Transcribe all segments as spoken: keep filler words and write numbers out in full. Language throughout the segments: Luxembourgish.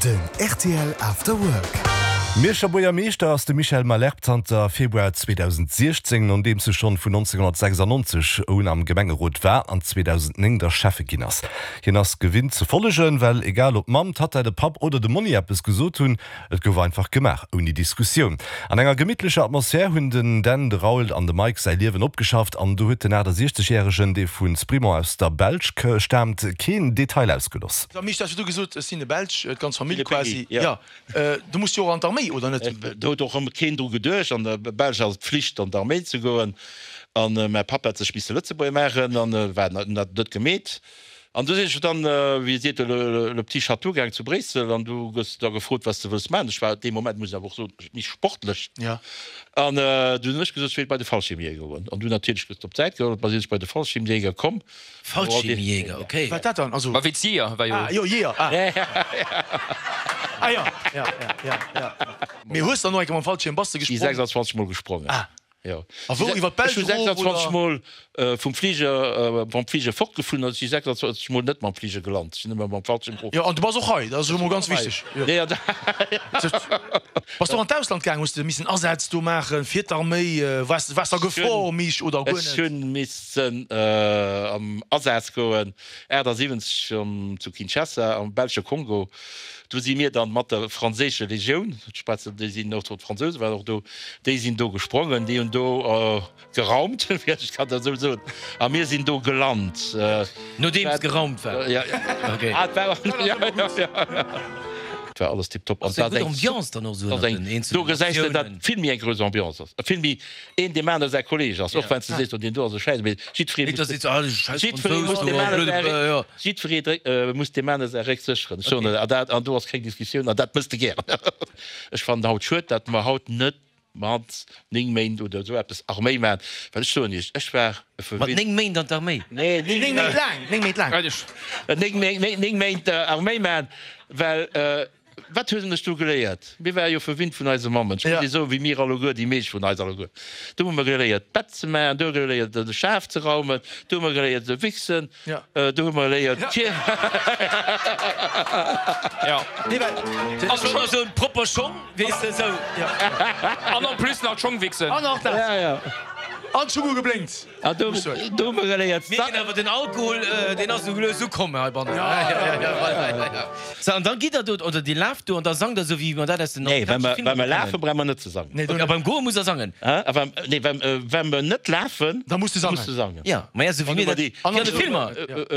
Den rtl After Work. Mierscher Buergermeeschter ass de Michel Malherbe zanter Februar zweedausendsiechzéng, nodeems e schonn vun nonzénghonnertsechsannonzeg un am Gemengerot war an zweedausendnéng da Schäffe ginn ass. Hien ass gewinnt ze follegen, well egal ob d'Mamm, d'Tatta, de Papp oder de Monni eppes gesot hunn, et gouf einfach gemaach, ouni Diskussioun. An enger gemittlecher Atmosphär hunn den Dan, de Raoul an de Mike säi Liewen opgeschafft an do huet den achtasiechzeg-järegen, dee vu Sprimont aus der Belsch staamt, keen Detail ausgeloss. Mich, hast du gesot, ech sinn e Belsch, d'ganz Famill De quasi. Peggy, ja. Ja. Äh, du muss jo och an d'Arméi, oder net? Do huet och ëmmer keen dru geduecht. An der Belsch ass et Pflicht, an d'Arméi ze goen. An mäi Papp hat sech misse Lëtzebuerger maachen an war dat net gemeet. An du sinn ech dann, wéi seet de, le, le petit château gaang zu Bréissel an du gëss da gefrot, wat s de wëlls maachen. Ech war dee Moment, muss ech awer och soen, méi sportlech. Ja. An du hunn ech gesot, ech wéilt bei de Fallschirmjäger goen. An du natierlech gëss op d'Säit geholl, da sinn ech bei de Fallschirmjäger komm. Fallschirmjäger, okay. Wat dat dann? Also. Ma wéi d'Jeeër war jo. Ah, jo, Jeeër, ah. Ah jo, ja, ja, ja, ja. Mee hues dann och eng Kéier mam Fallschierm, bass de Si gesprongen? sechsandzwanzeg Mol gesprongen. Ah. Jo. A wou, iwwer d'Belsch Ech hu erof, oder? sechsandzwanzeg Mol vum Fliger, mam Fliger fortgeflunn an ech si sechsandzwanzeg Mol net mam Fliger gelant. Ech sinn ëmmer mam Fallschierm erof. Jo, an du bass och hei, dat ass jo emol ganz wichteg. Jo. Nee, an Bass du och an d'Ausland gaang? Hues de missen Asätz do maachen fir d'Arméi? Waars, waars de a Gefor, Mich, oder guer Ech net? hunn missen am Asaz goen, achtasiwwenzeg zu Kinshasa am belsche Kongo. Do si mir dann mat der franséische Legioun, ech schwätzen, déi sinn och do, d'Fransouse waren och do, déi sinn do gesprongen, déi hunn do geraumt, ech kann dat esou soen, a mir sinn do gelant. Nodeems geraumt war? Ja, ah, et war, ja, ja, ja. Et war alles tiptop. Ass eng gutt Ambiance dann och esou ënnert den eenzelnen Do gesäis de, datt Natiounen. vill méi eng grouss Ambiance ass, vill méi een deem aner säi Kolleeg ass, och wann s de sees, oh deen do ass e Schäiss, mee jiddweree Net, muss datt seet, ah, schäiss jiddweree Fransous muss do, deem aner blöde, säi jo. Jiddweree dréck, muss deem aner säi Réck sécheren. Ech soen Okay. der, an dat, an do ass keng Diskussioun, an dat mëss de gären. Ech fannen haut schued, datt mer haut net mat néng Méint oder esou eppes Arméi maachen, well ech soen Iech, ech war e Mat verwinnt. néng Méint an d'Arméi? Nee, Néng néng Méint laang, néng Méint laang. Néng Méint, néng, néng Méint Arméi maachen, well wat hunn ech do geléiert? Mir ware jo verwinnt vun eise Mammen, ech muss Iech soen, wéi mir alleguer, déi meescht vun eis alleguer. Do hu mer geléiert d'Bett ze maachen, do hu mer geléiert de Schaf ze raumen, do hu mer geléiert ze wichsen, do hu mer geléiert d'Kir. Ja. Nee, well. Ass schonn esou propper Schong, weess de, esou. An en plus nach d'Schong wichsen. An och dat. Ja, ja. An d'Schung hu geblénkt. An do, do hu mer geléiert. Mir ginn awer den Alkohol, deen ass esou lues ukomm heibannen. Sou, an da gitt der do, oder Dir laaft do an da sangt der esou wéi mer dat aus den Nee, wa amerikanesche mer, Filmer wa mer kennen. lafen, brauche mer net ze sangen. Nee, do Ok, a beim Goe musst der sangen? Hä? A wa, nee, wa, wa mer net lafen, Da muss de da sangen. muss de sangen. Ja, ma ja, esou wéi Wann mir mer dat déi, wéi an de Filmer,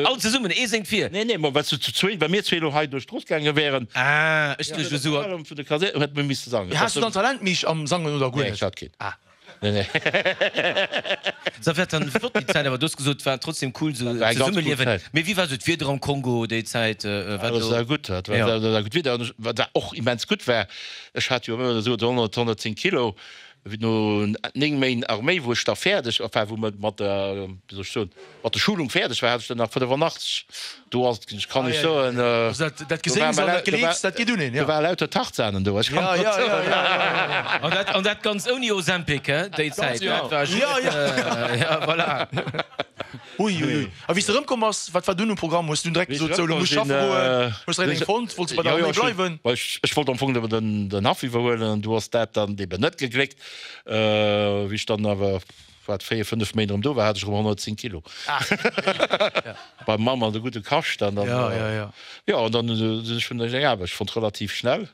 all zesummen, ee séngt vir. Nee, nee, ma wa zu zwee, wa mir zwee elo hei duerch d'Strooss gaange wären, Ah, ech duecht elo esou. Vun de Kasär, hätte mer misse sangen. Has du dann Talent, Mich, am Sangen oder guer Nee, net? ech hat keen. Ah. Nee, nee. Sa wäert dann flott déi Zäit, awer du hues gesot, et war trotzdem cool sou Dat war eng ganz cool zesummeliewen. Zäit. Mee wéi war sou d'Wieder am Kongo déi Zäit? Wat Alles do? war gutt, dat war Ja. dat war gutt Wieder. An ech, wat war och immens gutt war, ech hat jo ëmmer esou honnert, honnertzéng Kilo, wéi no néng Méint Arméi, wou ech da fäerdeg, enfin wou mer mat der, wéi soll ech soen, mat der Schulung fäerdeg war, hat ech der nach fënnefannachtzeg. Do ass, ech kann Ah, lech ja, soen, ja. Also dat, dat do war Geséngs an mer dat do war, Geleefs, dat geet un een, do ja. war lauter Tarzanen do, ech kann Ja, dat ja, soen. ja, ja, ja, ja. An dat, an dat ganz ouni Ozempic, he, déi Zäit. Ja. Dat war just, Ja, ja. äh, ja, voilà. Ui, ui, ui. A wéi s de erëmkomm bass, wat war dunn um Programm? Hues du dunn direkt Wéi ech gesot, sou, elo erëmkomm muss ech sinn, schaffe goen? Hues direkt eng fonnt? Wollts de bei der jo, jo, Arméi ech hunn, bleiwen? well ech, ech wollt am Fong nëmmen den, den Haff iwwerhuelen an du ass dat dann eben net gegléckt. Wéi ech dann awer, wat, véier, fënnef Méint erëm do war, hat ech erëm honnertzéng Kilo. Beim Mamm an de gudde Kascht an dann, Ja, ja, ja. jo, an dann hunn ech hunn ech eng Aarbecht fonnt, relativ schnell.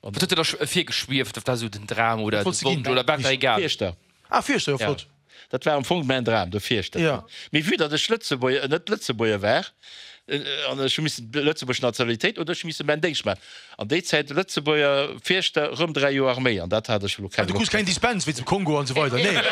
Wat huet dir da virgeschwieft? Wat war esou den Dram oder Wat de wollts de ginn? Wonsch oder war et der egal? Fierschter. Ah, Fierschter, jo, Ja. flott. Dat war am Fong mäin Dram, de Fierschter. Ja. Mee vue datt ech Lëtzebuerger, net Lëtzebuerger war, an ech hu missen d'lëtzebuergesch Nationalitéit oder ech hu misse mäin Déngscht maachen. An déi Zäit Lëtzebuerger Fierschter, rëm dräi Joer Arméi, an dat hat ech elo Ah, keng du krus Loscht. keng Dispens wéinst dem Kongo an esou weider, nee?